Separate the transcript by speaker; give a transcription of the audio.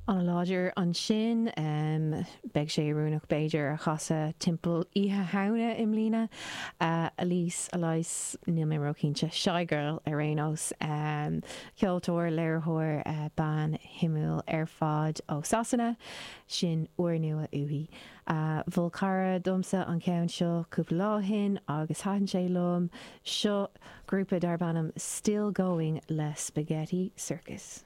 Speaker 1: An-láidir ansin. Beidh sé oiriúnach b'fhéidir a chasadh timpeall Oíche Shamhna i mbliana. Elise, Elise, níl mé róchinnte. Shygirl ar aon nós. Ceoltóir, léiritheoir, bean shuimiúil ar fad ó Sasana. Sin úrnua uaithi. Mhol cara domsa an ceann seo cúpla lá ó shin agus thaitin sé liom. Seo grúpa darb ainm Still Going le Spaghetti Circus.